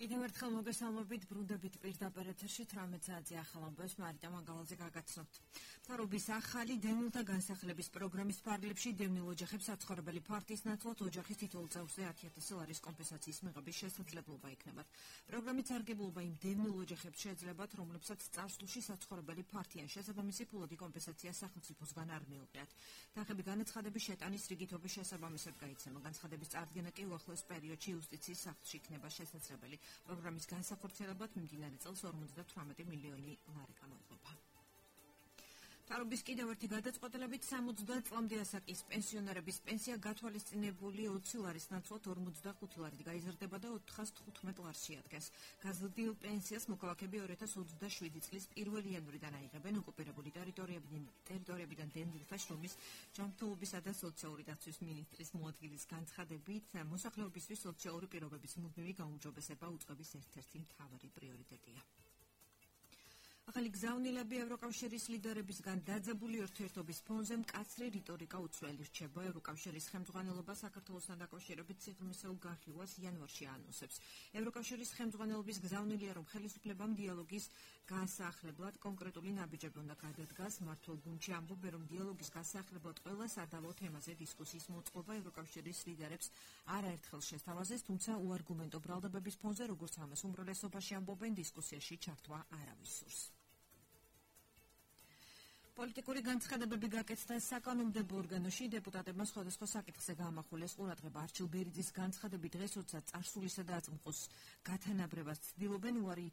კიდევ ერთხელ მოგესალმებით, ბრუნდებით პირდაპირ ეთერში 18 საათზე ახალ ამბებს მარიტა მანგალაძე გაგაცნობთ. მთავრობის ახალი დევნილთა განსახლების პროგრამის ფარგლებში დევნილ ოჯახებს საცხოვრებელი ფართის ნაცვლად ოჯახის თითოეულ წევრზე 10,000 ლარის კომპენსაციის მიღების შესაძლებლობა იქნებათ. პროგრამის სარგებლობა იმ დევნილ ოჯახებს შეეძლებათ, რომლებსაც წარსულში საცხოვრებელი ფართი ან შესაბამისი ფულადი კომპენსაცია სახელმწიფოსგან არ მიუღიათ. თანხები განაცხადების შეტანის რიგითობის შესაბამისად გაიცემა. განცხადების წარდგენა კი უახლოეს პერიოდში იუსტიციის სახლში იქნება შესაძლებელი. პროგრამის განსახორციელებად მიმდინარე წელს 58 მილიონი ლარი გამოიყოფა. მთავრობის კიდევ ერთი გადაწყვეტილებით 60 წლამდე ასაკის პენსიონერების პენსია გათვალისწინებული 20 ლარის ნაცვლად 45 ლარით გაიზრდება და 415 ლარს შეადგენს. გაზრდილ პენსიას მოქალაქეები 2027 წლის 1 იანვრიდან აიღებენ ოკუპირებული ტერიტორიებიდან დევნილთა შრომის ჯანმრთელობისა და სოციალური დაცვის მინისტრის მოადგილის განცხადებით, მოსახლეობისთვის სოციალური პირობების მუდმივი გაუმჯობესება უწყების ერთ-ერთი მთავარი პრიორიტეტია. ახალი გზავნილები ევროკავშირის ლიდერებისგან დაძაბული ურთიერთობის ფონზე მკაცრი რიტორიკა უცვლელი რჩება. ევროკავშირის ხელმძღვანელობა საქართველოსთან დაკავშირებით სიღრმისეულ განხილვას იანვარში ანონსებს. ევროკავშირის ხელმძღვანელობის გზავნილია, რომ ხელისუფლებამ დიალოგის განსახლებლად კონკრეტული ნაბიჯები უნდა გადადგას. მმართველ გუნდში ამბობენ, რომ დიალოგის განსახლებლად ყველა სადავო თემაზე დისკუსიის მოწყობა ევროკავშირის ლიდერებს არაერთხელ შესთავაზეს, თუმცა უარგუმენტო ბრალდებების ფონზე, როგორც ამას უმრავლესობაში ამბობენ, დისკუსიაში ჩართვა არავის სურს. პოლიტიკური განცხადებები გაკეთდა საკანონმდებლო ორგანოში. დეპუტატებმა სხვადასხვა საკითხზე გაამახვილეს ყურადღება. არჩილ ბერიძის განცხადები დღეს, როცა წარსულისა და აწმყოს გათანაბრებას ცდილობენ, უარი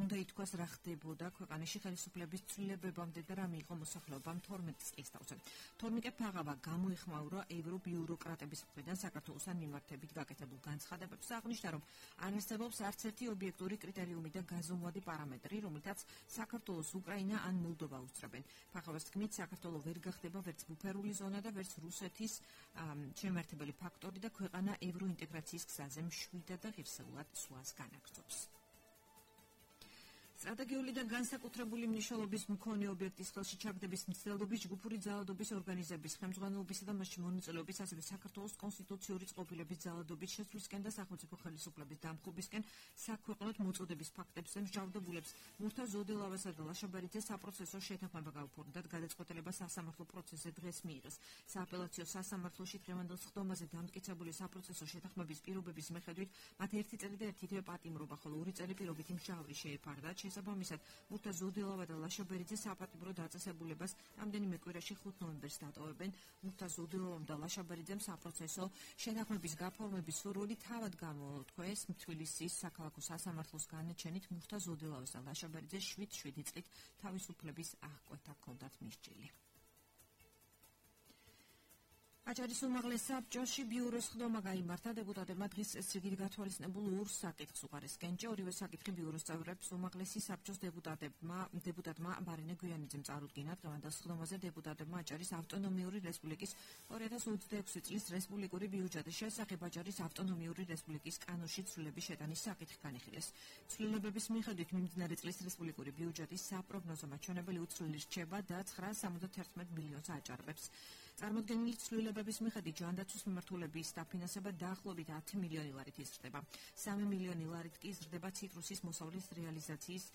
უნდა ითქვას, რა ხდებოდა ქვეყანაში ხელისუფლების ცვლილებებამდე და რა მიიღო მოსახლეობამ 12 წლის თავზე. თორნიკე ფაღავა გამოიხმაურა ევრობიუროკრატების მხრიდან საქართველოსთან მიმართებით გაკეთებულ განცხადებებს. აღნიშნა, რომ არ არსებობს არც ერთი ობიექტური კრიტერიუმი და გაზომვადი პარამეტრი, რომელთაც საქართველოს უკრაინა ან მოლდოვა უსწრებენ. ფაღავას თქმით, საქართველო ვერ გახდება ვერც ბუფერული ზონა და ვერც რუსეთის შემართებელი ფაქტორი და ქვეყანა ევროინტეგრაციის გზაზე მშვიდად და ღირსეულად სვლას განაგრძობს. სტრატეგიული და განსაკუთრებული მნიშვნელობის მქონე ობიექტის ხელში ჩაგდების მცდელობის, ჯგუფური ძალადობის ორგანიზების ხელმძღვანელობისა და მასში მონაწილეობის, ასევე საქართველოს კონსტიტუციური წყობილების ძალადობის შესვლისკენ და სახელმწიფო ხელისუფლების დამხობისკენ საქვეყნოდ მოწოდების ფაქტებზე მსჯავრდებულებს მურთა ზოდელავასა და ლაშაბერიძეს საპროცესო შეთანხმება გაუფორმდათ. გადაწყვეტილება სასამართლო პროცესზე დღეს მიიღეს. სააპელაციო სასამართლოში დღევანდელ სხდომაზე დამტკიცებული საპროცესო შეთანხმების პირობების მიხედვით მათ 1 წელი და 1 თვე პატიმრობა, ხოლო 2 წელი პირობითი მჟავრი შეეფარდათ. შესაბამისად, მურთა ზოდელავა და ლაშაბერიძე საპატიმრო დაწესებულებას რამდენიმე კვირაში 5 ნოემბერს დატოვებენ. მურთა ზოდელავამ და ლაშაბერიძემ საპროცესო შეთანხმების გაფორმების სურვილი თავად გამოთქვეს. თბილისის საქალაქო სასამართლოს განაჩენით მურთა ზოდელავას და ლაშაბერიძეს 7 წლით თავისუფლების აღკვეთა ჰქონდათ მისჯილი. აჭარის უმაღლეს საბჭოში ბიუროს სხდომა გაიმართა. დეპუტატებმა დღის წესრიგით გათვალისწინებულ 2 საკითხს უყარეს კენჭე. ორივე საკითხი ბიუროს წევრებს უმაღლესი საბჭოს დეპუტატმა მარინე გვიანიძემ წარუდგინა. დღევანდელ სხდომაზე დეპუტატებმა აჭარის ავტონომიური რესპუბლიკის 2026 წლის რესპუბლიკური ბიუჯეტის შესახებ აჭარის ავტონომიური რესპუბლიკის კანონში ცვლილების შეტანის საკითხი განიხილეს. ცვლილებების მიხედვით მიმდინარე წლის რესპუბლიკური ბიუჯეტის საპროგნოზო მაჩვენებელი უცვლელი რჩება და 971 მილიონს აჭარბებს. წარმოდგენილი ცვლილებების მიხედვით ჯანდაცვის მიმართულების დაფინანსება დაახლოებით 10 მილიონი ლარით იზრდება. 3 მილიონი ლარით კი იზრდება ციტრუსის მოსავლის რეალიზაციის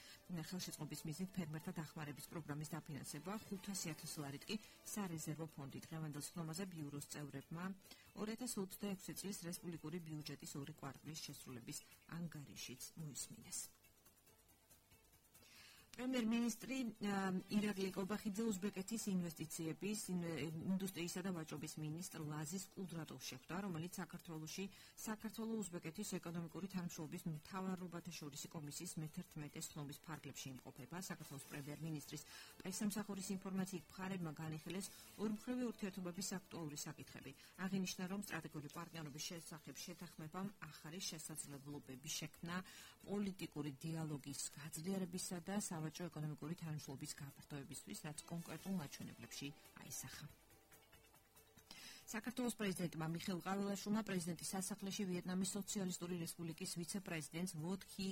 ხელშეწყობის მიზნით ფერმერთა დახმარების პროგრამის დაფინანსება, 500,000 ლარით კი სარეზერვო ფონდი. დღევანდელ სხდომაზე ბიუროს წევრებმა 2026 წლის რესპუბლიკური ბიუჯეტის 2 კვარტალის შესრულების ანგარიშიც მოისმინეს. პრემიერ-მინისტრი ირაკლი კობახიძე უზბეკეთის ინვესტიციების, ინდუსტრიისა და ვაჭრობის მინისტრ ლაზის კუდრატოვს შეხვდა, რომელიც საქართველო-უზბეკეთის ეკონომიკური თანამშრომლობის მთავრობათა შორისი კომისიის მე-11 სხდომის ფარგლებში იმყოფება. საქართველოს პრემიერ-მინისტრის პრესამსახურის ინფორმაციით მხარეებმა განიხილეს ორმხრივი ურთიერთობების აქტუალური საკითხები. აღინიშნა, რომ სტრატეგიული პარტნიორობის შესახებ შეთანხმებამ ახალი შესაძლებლობები შექმნა პოლიტიკური დიალოგის გაძლიერებისა და სავაჭრო ეკონომიკური თანამშრომლობის გაფართოებისთვის, რაც კონკრეტულ მაჩვენებლებში აისახა. საქართველოს პრეზიდენტმა მიხეილ ყაველაშვილმა პრეზიდენტის სასახლეში ვიეტნამის სოციალისტური რესპუბლიკის ვიცე-პრეზიდენტს ვოთ ჰი